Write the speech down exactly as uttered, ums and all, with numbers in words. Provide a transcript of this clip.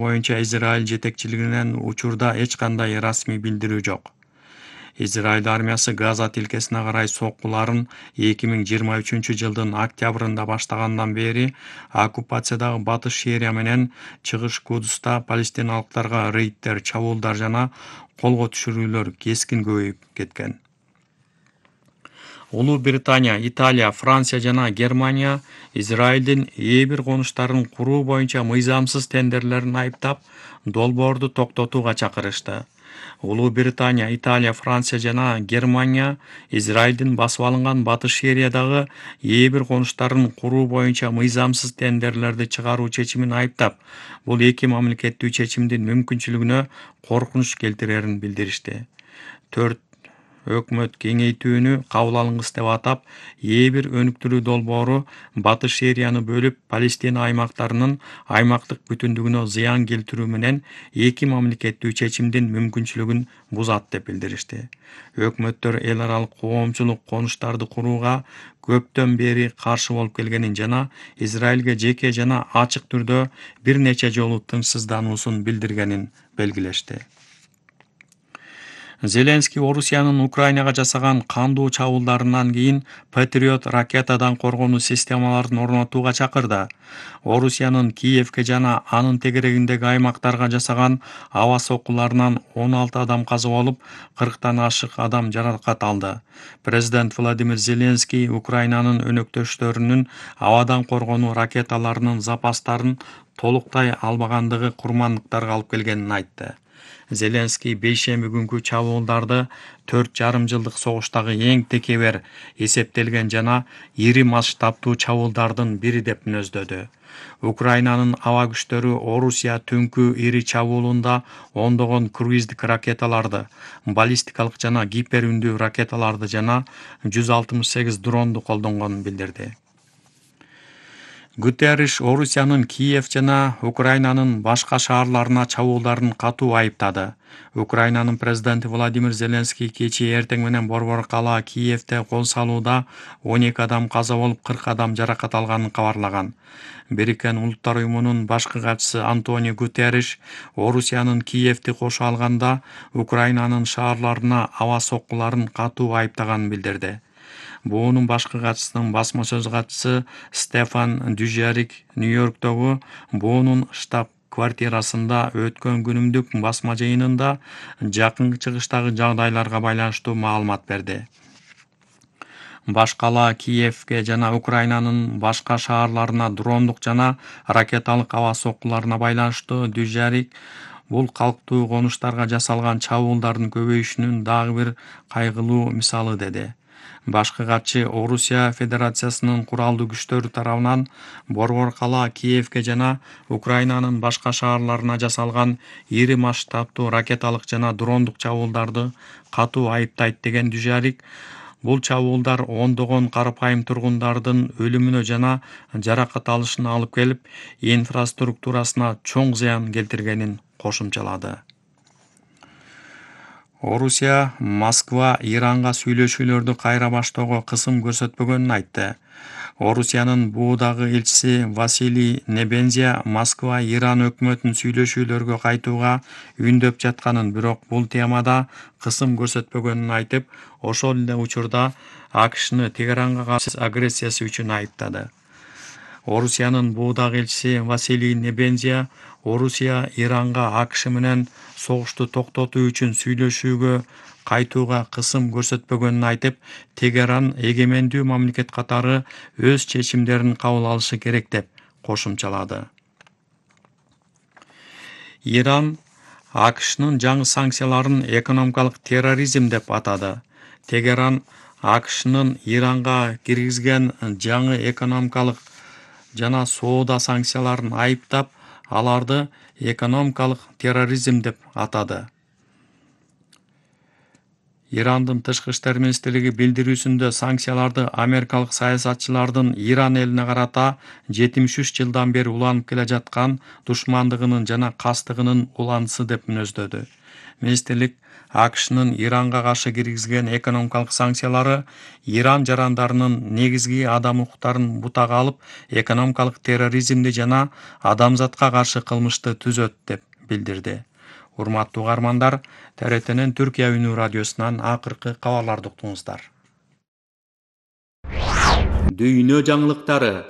боюнча Израиль жетекчилигинен учурда эч кандай расмий билдирүү жок. Израиль армиясы Газа тилкесине карай соккуларын эки миң жыйырма үчүнчү жылдын октябрында баштагандан бери оккупациядагы Батыш Шерия менен Чыгыш Кудуста палестиналыктарга рейдтер, чабуулдар жана колго түшүрүүлөр кескин көбөйүп кеткен. Улуу Британия, Италия, Франция жана Германия Израилдин ээ бир конуштарын куруу боюнча мыйзамсыз тендерлерин айыптап, долбоорду токтотууга чакырышты. Улуу Британия, Италия, Франция жана Германия Израилдин басып алынган Батыш Шериядагы ээ бир конуштарын куруу боюнча мыйзамсыз тендерлерди чыгаруу чечимин айыптап, бул эки мамлекеттүү чечимдин мүмкүнчүлүгүнө коркунуч келтирерин билдиришти. төрт Өкмөт кеңейтүүнү кабыл алынгыс деп атап, ээ бир өнүктүрүү долбоору Батыш Шерияны бөлүп, Палестина аймактарынын аймактык бүтүндүгүнө зыян келтирүү менен эки мамлекеттүү чечимдин мүмкүнчүлүгүн бузат деп билдиришти. Өкмөттөр эл аралык коомчулук конуштарды курууга көптөн бери каршы болуп келгенин жана Израилге жеке жана ачык түрдө бир нече жолу тынчсыздануусун билдиргенин белгилешти. Зеленский Орусиянын Украинага жасаган кандуу чабуулдарынан кийин Патриот ракетадан коргонуу системаларын орнотууга чакырды. Орусиянын Киевке жана анын тегерегиндеги аймактарга жасаган аба соккуларынан он алты адам каза болуп, кырктан ашык адам жаракат алды. Президент Владимир Зеленский Украинанын өнөктөштөрүнүн абадан коргонуу ракеталарынын запастарын толуктай албагандыгы курмандыктарга алып келгенин айтты. Зеленский бейшемби күнкү чабуулдарды төрт жарым жылдык согуштагы эң текебер эсептелген жана ири масштабтуу чабуулдардын бири деп мүнөздөдү. Украинанын аба күчтөрү Орусия түнкү ири чабуулунда ондогон круиздик ракеталарды, баллистикалык жана гипер үндүү ракеталарды жана жүз алтымыш сегиз дронду колдонгонун билдирди. Гутерриш Орусиянын Киев жана Украинанын башка шаарларына чабуулдарын катуу айыптады. Украинанын президенти Владимир Зеленский кечээ эртең менен борбор кала Киевте кол салууда он эки адам каза болуп, кырк адам жаракат алганын кабарлаган. Бириккен Улуттар уюмунун башкы катчысы Антонио Гутерриш Орусиянын Киевти кошо алганда Украинанын шаарларына аба соккуларын катуу айыптаганын билдирди. Буунун башкы катчысынын басма сөз катчысы Стефан Дюжарик Нью-Йорктогу буунун штаб квартирасында өткөн күнүмдүк басма жыйынында жакын чыгыштагы жагдайларга байланыштуу маалымат берди. Баш кала Киевке жана Украинанын башка шаарларына дрондук жана ракеталык аба соккуларына байланыштуу Дюжарик бул калктуу конуштарга жасалган чабуулдардын көбөйүшүнүн дагы бир кайгылуу мисалы деди. Башкы катчы Орусия Федерациясынын куралдуу күчтөрү тарабынан борбор кала Киевке жана Украинанын башка шаарларына жасалган ири масштабтуу ракеталык жана дрондук чабуулдарды катуу айыптайт деген Дюжарик, бул чабуулдар ондогон карапайым тургундардын өлүмүнө жана жаракат алышына алып келип, инфраструктурасына чоң зыян келтиргенин кошумчалады. Орусия Москва Иранга сүйлөшүүлөрдү кайра баштоого кысым көрсөтпөгөнүн айтты. Орусиянын буудагы элчиси Василий Небензия Москва Иран өкмөтүнүн сүйлөшүүлөргө кайтууга үндөп жатканын, бирок бул темада кысым көрсөтпөгөнүн айтып, ошол эле учурда АКШны Тегеранга каршы агрессиясы үчүн айыптады. Орусиянын буудагы элчиси Василий Небензия Орусия Иранга АКШ менен согушту токтотуу үчүн сүйлөшүүгө кайтууга кысым көрсөтпөгөнүн айтып, Тегеран эгемендүү мамлекет катары өз чечимдерин кабыл алышы керек деп кошумчалады. Иран АКШнын жаңы санкцияларын экономикалык терроризм деп атады. Тегеран АКШнын Иранга киргизген жаңы экономикалык жана соода санкцияларын айыптап, аларды экономикалык терроризм деп атады. Ирандын тышкы иштер министрлиги билдирүүсүндө санкцияларды америкалык саясатчылардын Иран элине карата жетимиш үч жылдан бери уланып келе жаткан душмандыгынын жана кастыгынын уланысы деп мүнөздөдү. Министрлик АКШнын Иранга каршы киргизген экономикалык санкциялары Иран жарандарынын негизги адам укуктарын бутага алып, экономикалык терроризмди жана адамзатка каршы кылмышты түзөт деп билдирди. Урматтуу угармандар, Т Р Тнин Түркия үнү радиосунан акыркы кабарларды уктуңуздар. Дүйнө жаңылыктары.